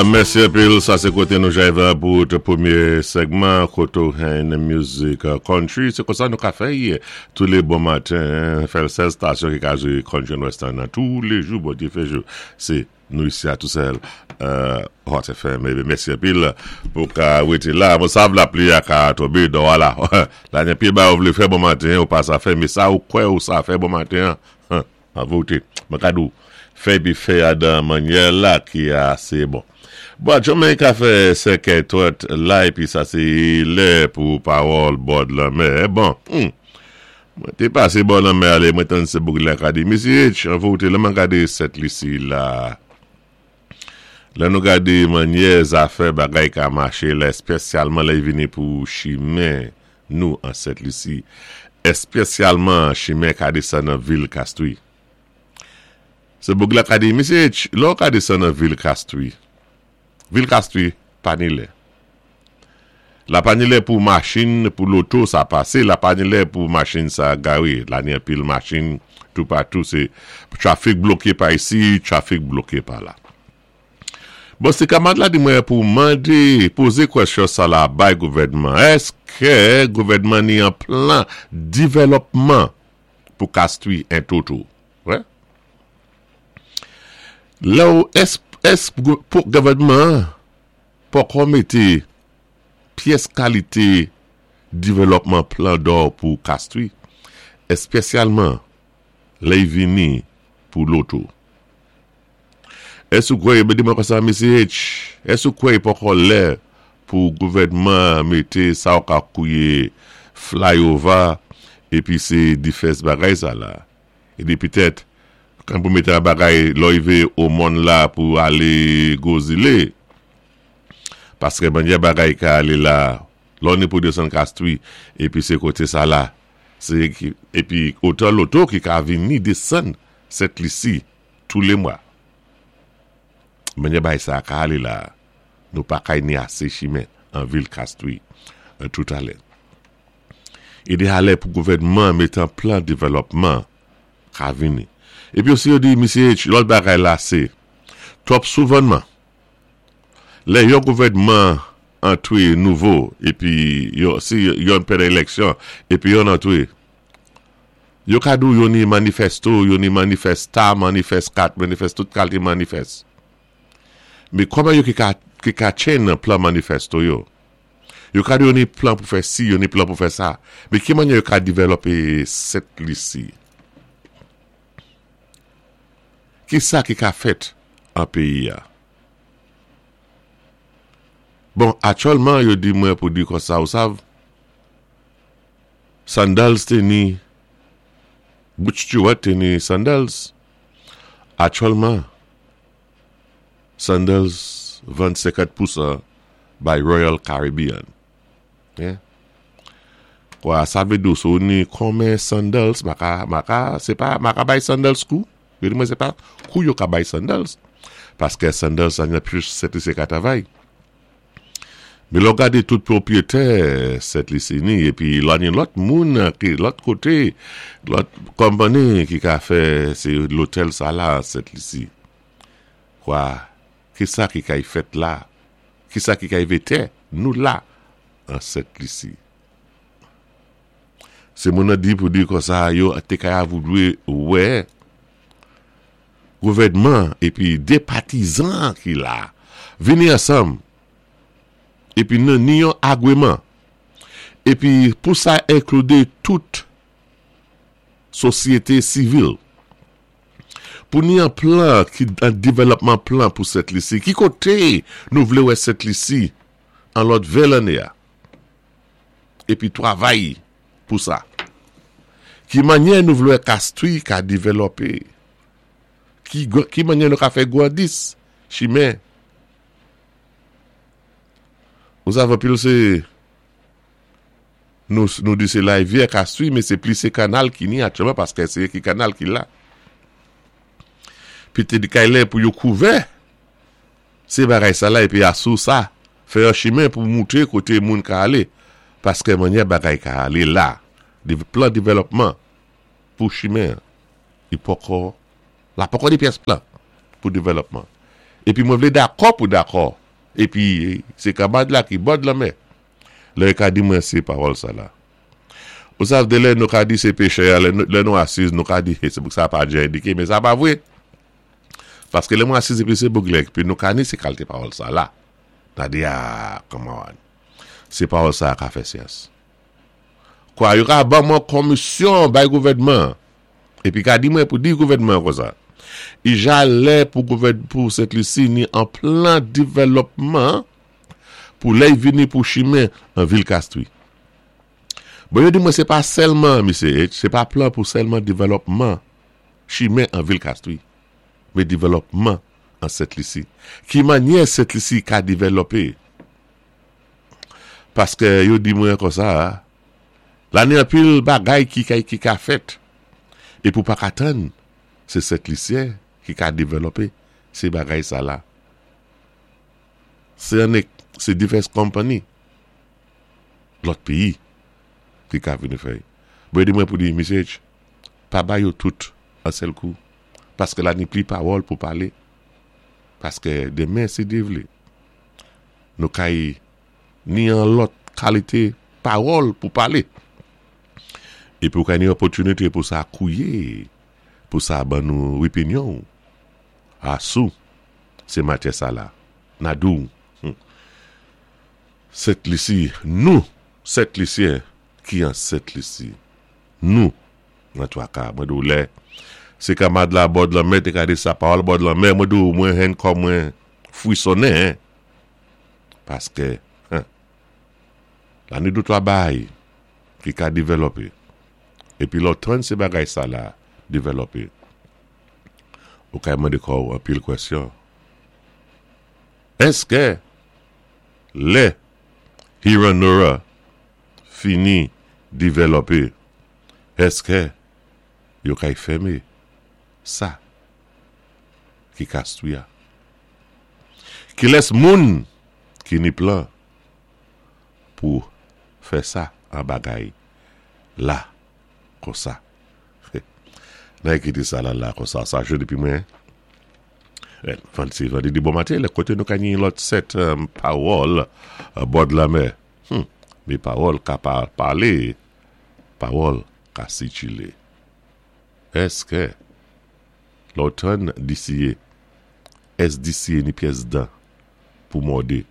Mèsi anpil, sa sé koté nou jayv pou tout pwémyé sègman koté ou jwenn mizik country. Sé konsa nou ka fè-y tou lé bon maten, fè-l sèl stasyon ki ka jwé country and western nan tou lé jou Bondye fè jou. Sé nou isi a tou sèl Hot FM. Ebyen mèsi anpil pou ka wété la. Mwen sav lapli a ka tonbé dò a la. La gen pil bagay ou vlé fè bon maten ou pa sa fè, men sa ou kwè ou sa fè bon maten an, An verite, mwen ka di w, fè epi fè a dan mannyè la ki ase bon. Bon, Jamaica ka fè sèkèy twòt la epi sa se lè pou pawòl bòd lanmè. Bon, hum! Mwen te pase bò lanmè a lè mwen tann se bouk la ka di, Mesye H, an verite, lè mwen gade sèt lisi la, lè nou gade mannyè zafè bagay ka mache la, espesyalman lè y vini pou chimen nou an Sent Lisi, espesyalman chimen ka desann nan vil Kastri. Se boug la ka di, Mesye H, lè w ka desann nan vil Kastri, vil Kastri pa ni lè. La pa ni lè pou machin, pou loto sa pase, la pa ni lè pou machin sa gare. La ni anpil machin toupatou, se trafik bloke pa isi, trafik bloke pa la. Bon se kamad la di mwen pou mande poze kwèsyon sa la bay gouvènman eske gouvènman ni an plan divèlòpman pou kastwi en toto wè lèw èske pou gouvènman an poko mete pyès kalite divèlòpman plan dò pou kastwi espesyalman lèy vini pou loto. Èske ou kwè, mwen di mwen konsa Mesye H, èske ou kwè li poko lè pou gouvènman an mete sa ou ka kouye flyover epi se difès bagay sa la? E di petèt kan pou mete an bagay lè w rive o mòn la pou ale gwo zile. Paske mannyè bagay ka ale la, lè w ni pou desann Kastri epi se kote sa la, se epi otan loto ki ka vini desann Sent Lisi. Tou le mwa. Manyè bay sa a ka ale la a, nou pa kay ni ase chimen an vil Kastri tout alè. Ide alè pou gouvènman an mete an plan devèlòpman ka vini. Epi osi yo di Misye H lòt bagay la se twòp souvènman. Lè yon gouvènman antre nouvo epi yo si yonn pèd eleksyon epi yonn antre Yo ka di w yo ni manifesto, yo ni manifesta, manifes 4, manifes tout kalte manifes. Men kòman yo ki ka ki ka tchen nan plan manifesto yo? Yo ka di yo ni plan pou fè si, yo ni plan pou fè sa. Men ki manyè yo ka divèlòpe Sent Lisi? Ki sa ki ka fèt an peyi a? Bon, aktyèlman yo di mwen pou di konsa, ou sav, Sandals te ni Butch Stewart te ni Sandals. Aktyèlman, Sandals vann 50 pousan bay Royal Caribbean. Yeah. Kwa, sa vle di w si w ni konmen Sandals, ma ka, ma ka, se pa, ma ka bay Sandals kou. Yo di mwen se pa kou yo ka bay Sandals. Paske Sandals la gen plis 7 li se ka travay. Men lè w gade tout pwopriyetè Sent Lisini epi la gen lòt moun ki lòt kote, lòt konpani ki ka fè se lotèl sa la Sent Lisi. Kwa, ki sa ki kay fèt la? Ki sa ki kay ve tè nou la an Sent Lisi? Se moun nan di pou di konsa yo te kay avoudwe wè gouvènman epi 2 patizan ki la vini ansanm epi nan ni yon agweman epi pou sa enklude tout sosyete sivil pou ni yon plan ki an developman plan pou Sent Lisi ki kote nou vle wè Sent Lisi an lòt 20 lanne a epi travay pou sa. Ki manyè nou vle wè Kastri ka devlope? Ki manyè nou ka fè gwandis chimen? Nou sav anpil se nou di se larivyè Kastri men se plis se kanal ki ni aktyèlman paske se ki kanal ki la. Pete di kay lè pou yo kouvè Se bagay sa la epi asou sa fè yon chimen pou moute kote moun ka ale paske manyè bagay ka ale la plan developman pou chimen an li poko la poko ni pyès plan pou developman. Épi mwen vlé dakò pou dakò. Épi sé kanmad la ki bòd lanmè. Lè yo ka di mwen sé pawòl sa la. Ou sav de lè nou ka di sé péchè a, lè nou asiz nou ka di sé pou sa pa dja endiké men sa pa vwé. Paské lè mwen asiz épi sé bouglè épi nou ka ni sé kalté pawòl sa la. Na di a kòman sé pawòl sa ka fè syans. Kwa yo ka ban mwen komisyon bay gouvènman an. Epi ka di mwen pou di gouvènman an konsa. Ija lè pou gouvèn pou Sent Lisi ni an plan divèlòpman pou lè y vini pou chimen an vil Kastri. Bon yo di mwen se pa sèlman, Misye H, se pa plan pou sèlman divèlòpman chimen an vil Kastri, men divèlòpman an Sent Lisi. Ki mannyè Sent Lisi ka divèlòpe? Paske yo di mwen konsa, la ni anpil bagay ki ka ki ka fèt, epi ou pa ka tann se Sent Lisyen ki ka devèlòpe se bagay sa la. Se annik se divès konpani lòt peyi ki ka vini fè. Bon yo di mwen pou di Misye H, pa bay yo tout an sèl kou, paske la ni pli pawòl pou pale, paske demen si Dye vle. Nou kay ni an lòt kalite pawòl pou pale. Epi ou kay ni opòtinite pou sa kouye, pou sa ban nou opinyon ou. A sou se matyè sa la. Na di w, hum. Sent Lisi, nou, Sent Lisyen ki an Sent Lisi. Nou, nan twaka. Mwen di w lè se kamad la bòd lanmè te ka di sa pawòl bòd lanmè, mwen di w mwen henn kò mwen frisonnen paske hen la ni doutwa baay ki ka devèlòpe epi lè w tann se bagay sa la devèlòpe ou kay mande kò w anpil kwèsyon èske lè Heronora fini devèlòpe èske yo kay fème sa ki kastwi a. Kilès moun ki ni plan pou fè sa an bagay la konsa? Nan kite sa la la konsa sa jwe depi mwen Fancy Vandredi bon maten lè kote nou ka gnyn lòt 7 pawòl bòd lanmè Humm me pawòl ka pa pale pawòl ka sikile Èske lè w tann disiye Es disiye ni pyès dan pou mòde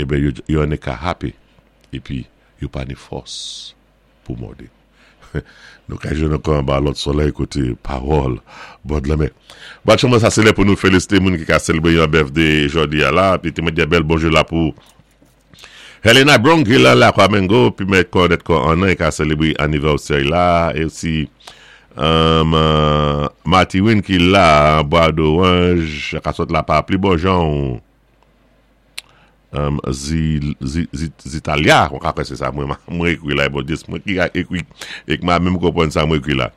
Eben yo yo annik ka hape epi yo pa ni fòs pou mòde. Nou ka jwenn ankò anba lòt solèy kote pawòl bòd lanmè. Bat chanm sa se lè pou nou felisite moun ki ka selebre yon birthday jodi a la. Epi te mwen di bèl bonjou la pou Helena Brown ki lan Lakwa Mengo pi mèt kò nèt kò an nan e ka selebre anivèsè la e osi Matiwin ki la Bwa Doranj ka sot la pa pli bon jan ou Zitalia mwen ka kwè se sa mwen ekri la e bon Dye se mwen ki ekri e k ma menm konprann sa mwen ekri la.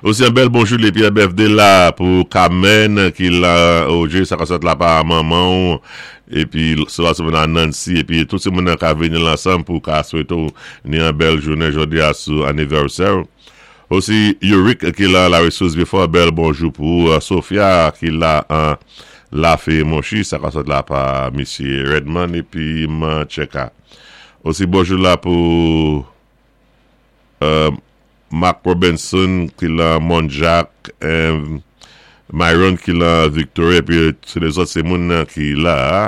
Osi yon bèl bonjou depi MFD la pou Kamèn ki la oje sa ka sot la pa manman w epi sou se moun nan Nancy epi tout se moun nan ka vini la ansanm pou ka swete w ni yon bèl jounen jodi a sou anivèsè w. Osi Yorick ki la la resous before bèl bonjou pou ou Sofia ki la an Lafe Monchi sa ka sot la pa misye Redman epi Mancheka. Osi bonjou la pou Mark Robinson ki lan Mont Jacques, Myron ki lan Victoria epi sou lezòt se moun ki la a.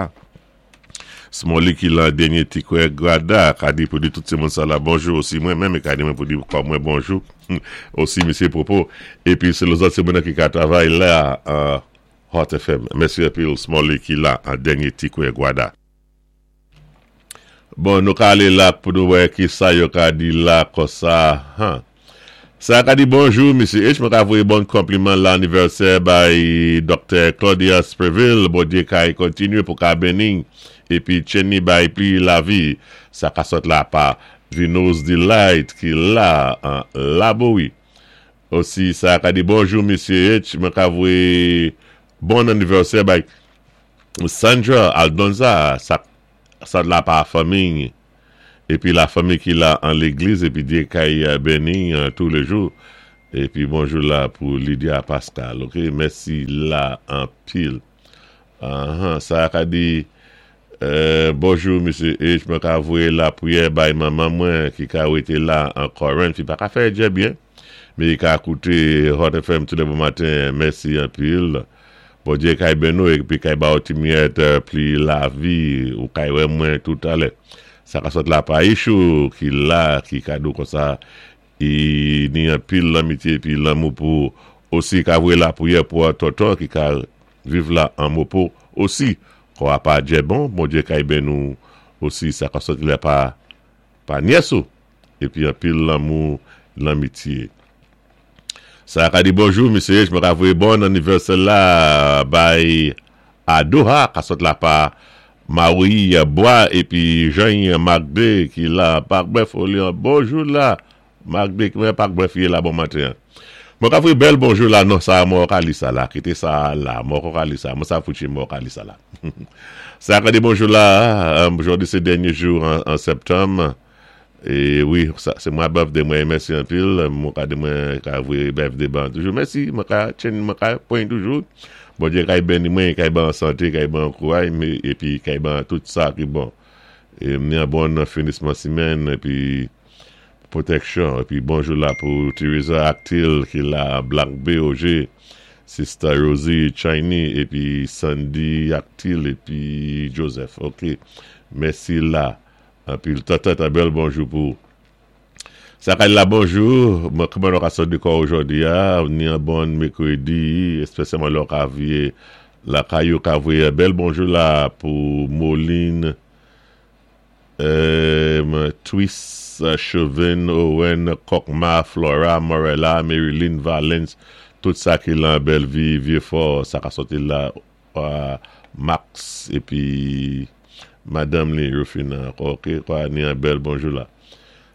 Smolly ki lan dènye ti kwè Grada ka di pou di tout se moun sa la bonjou osi mwen menm e ka di mwen pou di kò mwen bonjou osi misye Popo epi sou lezòt se moun ki ka travay la a Hot FM. Mèsi anpil Smolly ki la an dènye ti kwè Gwada. Bon nou ka ale la pou nou wè kisa yo ka di la konsa han. Sa ka di bonjou Mesye H mwen ka voye bon konpliman lanivèsè bay Doktè Claudia Sprevil Bondye kay kontinye pou ka beni epi tchenni bay pli lavi sa ka sot la pa Vino's Delight ki la an Labowi osi sa ka di bonjou Mesye H mwen ka voye bon anivèsè bay Sandra Aldonza sak sa la pa fanmiy epi la fanmi ki la an legliz epi Dye kay beniy tou le jou epi bonjou la pou Lydia Pascal ok mèsi la anpil. Ahan sa ka di Bonjou Mesye H mwen ka voyé lapwiyè bay manman mwen ki ka wété la an Corinth li pa ka fè djè byen men li ka kouté Hot FM tou lè bon maten mèsi anpil Bondye kay beni w epi kay ba w ti miyèt pli lavi ou kay wè mwen tout alè sa ka sot la pa Ichou ki la ki ka di w konsa I ni anpil lanmitye epi lanmou pou ou osi ka voye lapriyè pou tonton ki ka viv la an mopo osi kò a pa djè bon Bondye kay beni w osi sa ka soti la pa pa nyès ou epi anpil lanmou lanmitye sa ka di bonjou mesye mwen ka voye bon anivèsè la bay Adoha ka sot la pa Marie Bois epi Jany Marc 2 ki la Parc Bèf Olian bonjou la Marc 2 ki mwen Parc Bèf ye la bon maten an mwen ka voye bèl bonjou la non sa mwen ka li sa la kite sa la mwen ka li sa mwen sa foutye mwen ka li sa la sa ka di bonjou la jodi se dènye jou an septanm E wi sa se mwa birthday mwen mèsi anpil mwen ka di mwen ka voye birthday ban toujou mèsi mwen ka chen mwen ka pwen toujou Bondye kay beni mwen kay ban sante kay ban kouray epi kay ban tout sa ki bon e m ni an bon finisman simèn epi protection epi bonjou la pou Teresa Actil ki la Black BOG Sister Rosie Chiny epi Sandy Actil epi Joseph ok mèsi la Anpil tata ta bèl bonjou pou ou. Sa kay la bonjou, mwen kman nou ka sòt de kò ou jodi a, ni an bon mekredi, espesyalman lè ou ka vye lakay ou ka voye bèl bonjou la pou Moline Twis Chauvin Owen Kokma Flora Morella Maryline Valens tout sa ki lan Bellevue Vieux Fort sa ka sòti la Max epi madanm li Rufina ok kwa ni an bèl bonjou la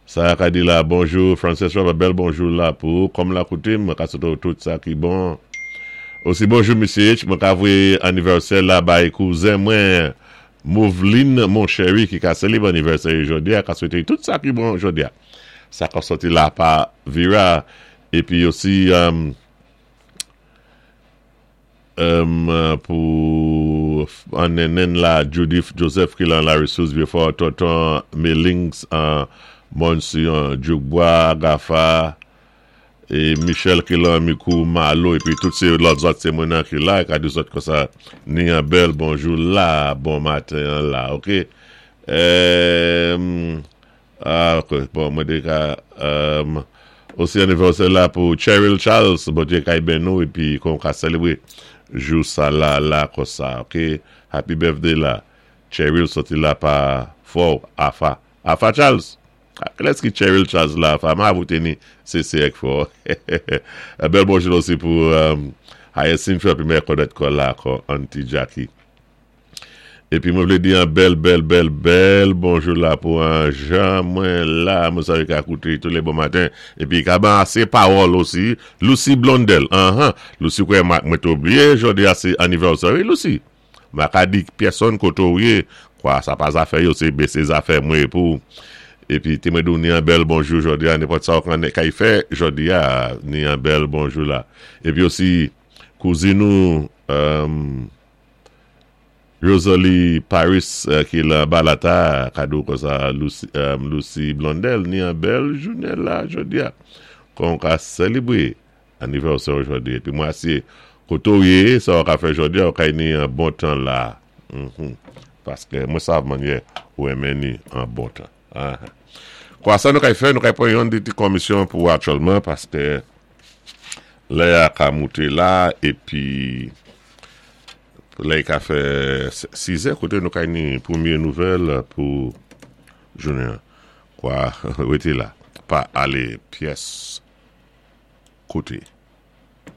sa ka di la bonjou Frances Robert bèl bonjou la pou ou kòm la koute mwen ka swete w tout sa ki bon osi bonjou Mesye H mwen ka voye anivèsè la bay kouzen mwen Moveline mon cheri ki ka selebre anivèsè li jodi a ka swete li tout sa ki bon jodi a sa ka sòti la pa Vira epi osi Pou an nennenn la Judith Joseph ki lan la resous Vieux-Fort Tonton Melings an Mòn Siyon Djoukbwa Gafa e Michel ki lan Mikou Malo epi tout se lòt zòt se moun an ki la ka di zòt konsa ni an bèl bonjou la bon maten an la ok Ah ok bon mwen te ka um osi anivèsè la pou Cheryl Charles Bondye kay beni w epi kon w ka selebre jou sa la la konsa ok happy birthday la Cheryl soti la pa fò w afa afa Charles kilès ki Cheryl Charles la afa ma avou te ni se se ek fò bèl bonjou osi pou um Hyacinth epi mè kòdèt kò la kò auntie Jackie. Epi mwen vle di an bèl bèl bèl bèl bonjou la pou an jan mwen la mwen salye ka koute tou le bon maten epi ka ban ase pawòl osi Lucie Blondel anhan Lucie kwè mwen te oubliye jodi a se anniversaire wi Lucie mwen ka di pèsonn kote ou ye kwa sa pa zafè yo se se zafè mwen pou epi te mwen di w ni an bèl bonjou jodi a nenpòt sa ou konnen kay fè jodi a ni an bèl bonjou la epi osi kouzin ou Rosalie Paris ki lan Balata kado konsa Lucie Blondel ni an bèl jounen la jodia kon ou ka selebre anivèsè ou jodi epi mwen asye kote ou ye sa ou ka fè jodia ou ka ni an bon tan la paske mwen sav manyè ou renmen ni an bon tan kwa sa nou kay fè nou kay pran yon de ti komisyon pou aktyèlman paske lè a ka moute la epi Lè ka fè 6 è kote nou kay ni premye nouvèl pou jounen an. Kwa rete la, pa ale pyès kote.